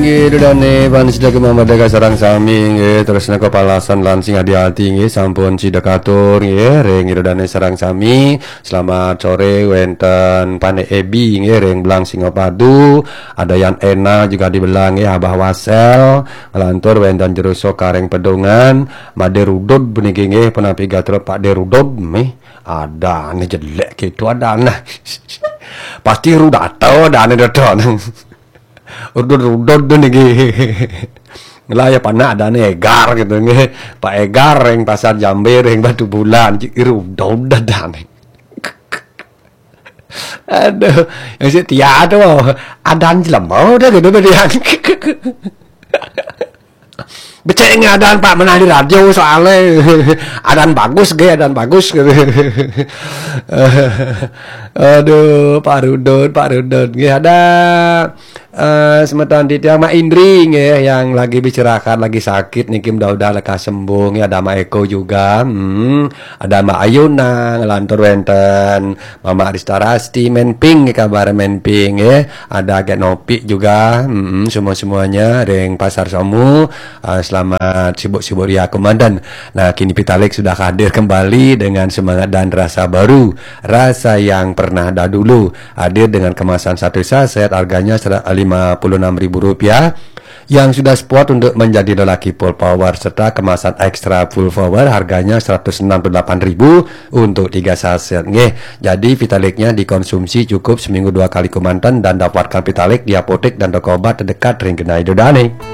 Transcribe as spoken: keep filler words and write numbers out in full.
Nggih, ida dane panitia kemamadaga sareng sami nggih, tresna kapalasan lan sing adi-adi nggih, sampun sida katur nggih, ring ida dane sareng sami. Selamat sore wenten Pane Ebi nggih, ring Belang Singapadu, ada Yan Ena juga di Belang nggih, Abah Wasel, ngelantur wenten Jero Soka ring Pedungan, Made Rudud puniki nggih, punapi gatra Pak De Rudud mih, adane jelek gitu adane. Pasti Rudato adane Dato. Rudud-rudud tu niki. Lah ya panak adane Egar gitu nggih. Pak Egar ring Pasar Jambe ring Batu Bulan, cik rudud adane. Aduh, yang si Tia tu adan jelema dah gitu tu dia. Becek ngadaan Pak menah di radio soale. Adan bagus ge, adan bagus gitu. Aduh, Pak Rudud, Pak Rudud. Nggih ada eh semeton titiang Mak Indri nggih yang lagi beristirahat, lagi sakit niki, mudah-mudahan lekas sembuh nggih. Ada Mak Eko juga. Hmm, ada Mak Ayuna ngelantur wenten, Mama Arista Rasti, Menping nggih, kabar Menping nggih. Ada Gek Nopi juga. Hmm, semua-semuanya ring Pasar Somu. Ah, selamat sibuk-sibuk ria kemanten. Nah, kini Pitalik sudah hadir kembali dengan semangat dan rasa baru. Rasa yang pernah ada dulu. Hadir dengan kemasan satu saset, harganya sera- lima puluh enam ribu rupiah. Yang sudah spot untuk menjadi lelaki full power serta kemasan extra full power, harganya seratus enam puluh delapan ribu untuk tiga saset. Nggih, jadi Vitaliknya dikonsumsi cukup seminggu dua kali kemanten dan dapatkan Vitalik di apotek dan toko obat terdekat ring genah ida dane.